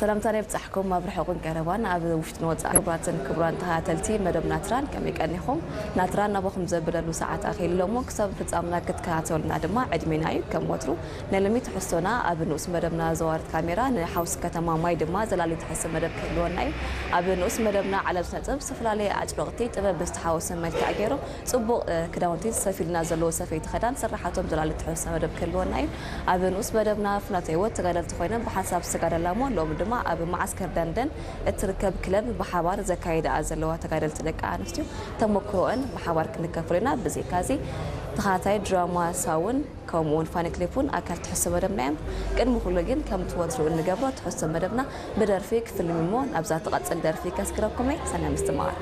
ሰላምታና ይብጻሕኩም ኣብ ርሑቕን ቀረባን ኣብ ውሽጥን ወጻእ። ክቡራትን ክቡራን ተኸታተልቲ መደብ ናትራን ከመይ ቀኒኹም? ናትራን ናባኹም ዘብለሉ ሰዓት ኣኺሉ እሞ ክሳብ ፍጻምና ክትከታተሉና ድማ ዕድሜና እዩ። ከም ወትሩ ናይ ሎሚ ትሕዝቶና ኣብ ንኡስ መደብና ዘዋርት ካሜራ ንሓውስ ከተማ ማይ ድማ ዘላሊ ትሕዝቶ መደብ ክህልወና እዩ። ኣብ ንኡስ መደብና ዓለም ስነ ጥበብ ዝተፈላለየ ኣጭበቕቲ ጥበብ ብዝተሓወሰ መልክዕ ገይሮም ጽቡቕ ክዳውንቲ ሰፊልና ዘለዎ ሰፈይቲ ክዳን ስራሓቶም ዘላሊ ትሕዝቶ መደብ ክህልወና እዩ። ኣብ ንኡስ መደብና ፍናተ ህይወት ተጋደልቲ ኮይኖም ብሓንሳብ ዝተጋደላ እሞ ሎም ድማ ኣብ መዓስከር ደንደን እትርከብ ክለብ ብሓባር ዘካይዳ ዘለዋ ተጋደልቲ ደቂ ኣንስትዮ ተመክሮአን ብሓባር ክንከፍል ኢና። ብዘይካዚ ተኻታይ ድራማ ሳውን ከምኡውን ፋኒ ክሊፕ እውን ኣካል ትሕዝቶ መደብና እዮም። ቅድሚ ኩሉ ግን ከም ትወትሩ እንገብሮ ትሕዝቶ መደብና ብደርፊ ክፍልም እሞ ናብዛ ትቐጽል ደርፊ ከስግረኩም እየ። ሰናይ ምስትምቓር።